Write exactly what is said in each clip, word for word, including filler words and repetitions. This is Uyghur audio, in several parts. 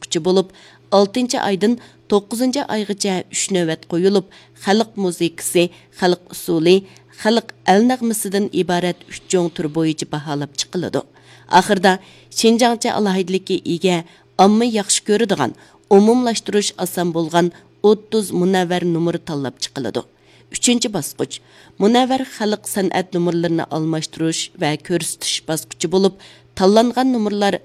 باسقۇچى بولۇپ، ئالتىنچى ئايدىن توققۇزىنچى ئايغىچە ئۈچ نۆۋەت قويۇلۇپ، خەلق مۇزىكىسى، خەلق ئۇسسۇلى، خەلق ئەل نەغمىسىدىن ئىبارەت ئۈچ چوڭ تۈر بويىچە باھالاپ چىقىلىدۇ. ئاخىرىدا شىنجاڭچە ئالاھىدىلىككە ئىگە، ئامما ياخشى كۆرىدىغان، ئومۇملاشتۇرۇش ئاسان بولغان ئوتتۇز مۇنەۋۋەر نومۇر تاللاپ چىقىلىدۇ. ئۈچىنچى باسقۇچ، مۇنەۋۋەر خەلق سەنئەت نومۇرلىرىنى ئالماشتۇرۇش ۋە كۆرسىتىش باسقۇچى بولۇپ، تاللانغان نومۇرلار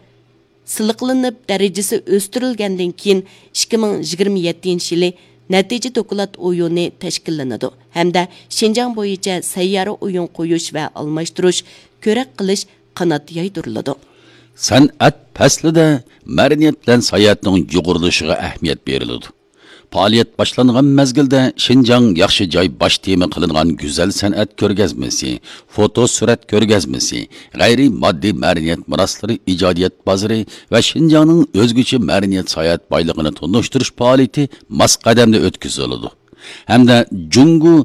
سىلىقلىنىپ، دەرىجىسى ئۆستۈرۈلگەندىن كېيىن، ئىككى مىڭ يىگىرمە يەتتىنچى يىلى نەتىجە دوكلات ئويۇنى تەشكىللىنىدۇ ھەمدە شىنجاڭ بويىچە سەييارە ئويۇن قويۇش ۋە ئالماشتۇرۇش، كۆرەك قىلىش قانات يايدۇرۇلىدۇ. سەنئەت پەسلىدە مەدەنىيەت بىلەن ساياھەتنىڭ يۇغۇرۇلۇشىغا ئەھمىيەت بېرىلىدۇ. پائالىيەت باشلانغان مەزگىلدە شىنجاڭ ياخشى جاي باش تېما قىلىنغان گۈزەل سەنئەت كۆرگەزمىسى، فوتو سۈرەت كۆرگەزمىسى، غەيرىي ماددىي مەدەنىيەت مىراسلىرى ئىجادىيەت بازىرى ۋە شىنجاڭنىڭ ئۆزگىچە مەدەنىيەت ساياھەت بايلىقىنى تونۇشتۇرۇش پائالىيىتى ماس قەدەمدە ئۆتكۈزۈلىدۇ. ھەمدە جۇڭگو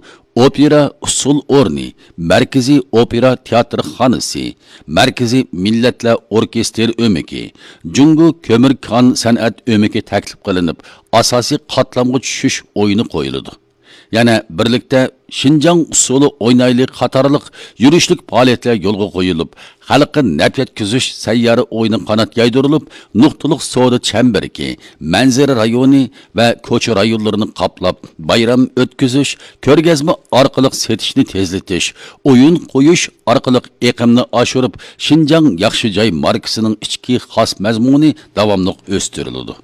ئوپېرا ئۇسسۇل ئورنى، مەركىزىي ئوپېرا تىياتىرخانىسى، مەركىزىي مىللەتلەر ئوركېستىر ئۆمىكى، جۇڭگو كۆمۈر كان سەنئەت ئۆمىكى تەكلىپ قىلىنىپ، ئاساسىي قاتلامغا چۈشۈش ئويۇنى قويۇلىدۇ. يەنە بىرلىكتە شىنجاڭ ئۇسسۇلى ئوينايلى قاتارلىق يۈرۈشلۈك پائالىيەتلەر يولغا قويۇلۇپ، خەلققە نەپ يەتكۈزۈش سەييارە ئويۇنى قانات يايدۇرۇلۇپ، نۇقتىلىق سودا چەمبىرىكى، مەنزىرە رايونى ۋە كوچا رايونلىرىنى قاپلاپ، بايرام ئۆتكۈزۈش، كۆرگەزمە ئارقىلىق سېتىشنى تېزلىتىش، ئويۇن قويۇش ئارقىلىق ئېقىمنى ئاشۇرۇپ، شىنجاڭ ياخشى جاي ماركىسىنىڭ ئىچكى خاس مەزمۇنى داۋاملىق ئۆستۈرۈلىدۇ.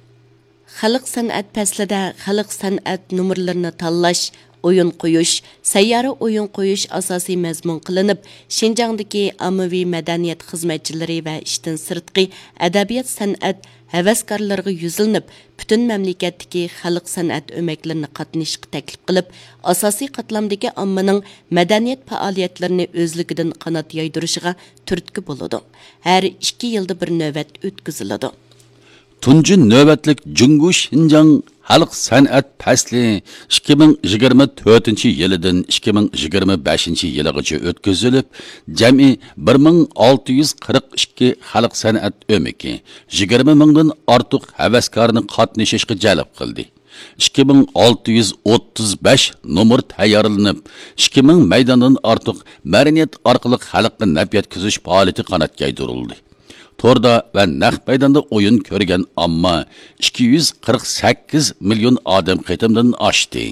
خەلق سەنئەت پەسلىدە خەلق سەنئەت نومۇرلىرىنى تاللاش، ئويۇن قويۇش، سەييارە ئويۇن قويۇش ئاساسىي مەزمۇن قىلىنىپ، شىنجاڭدىكى ئاممىۋى مەدەنىيەت خىزمەتچىلىرى ۋە ئىشتىن سىرتقى ئەدەبىيات سەنئەت ھەۋەسكارلىرىغا يۈزلىنىپ، پۈتۈن مەملىكەتتىكى خەلق سەنئەت ئۆمەكلىرىنى قاتنىشىشقا تەكلىپ قىلىپ، ئاساسىي قاتلامدىكى ئاممىنىڭ مەدەنىيەت پائالىيەتلىرىنى ئۆزلۈكىدىن قانات يايدۇرۇشىغا تۈرتكە بولىدۇ. ھەر ئىككى يىلدا بىر نۆۋەت ئۆتكۈزۈلىدۇ. تۇنجى نۆۋەتلىك جۇڭگو شىنجاڭ خەلق سەنئەت پەسلى ئىككى مىڭ يىگىرمە تۆتىنچى يىلىدىن ئىككى مىڭ يىگىرمە بەشىنچى يىلىغىچە ئۆتكۈزۈلۈپ، جەمئىي بىر مىڭ ئالتە يۈز قىرىق ئىككى خەلق سەنئەت ئۆمىكى، يىگىرمە مىڭدىن ئارتۇق ھەۋەسكارنى قاتنىشىشقا جەلپ قىلدى. ئىككى مىڭ ئالتە يۈز ئوتتۇز بەش نومۇر تەييارلىنىپ، ئىككى مىڭ مەيداندىن ئارتۇق مەدەنىيەت ئارقىلىق خەلققە نەپ يەتكۈزۈش پائالىيىتى قانات يايدۇرۇلدى. توردا ۋە نەق مەيداندا ئويۇن كۆرگەن ئامما ئىككى يۈز قىرىق سەككىز مىليون ئادەم قېتىمدىن ئاشتى.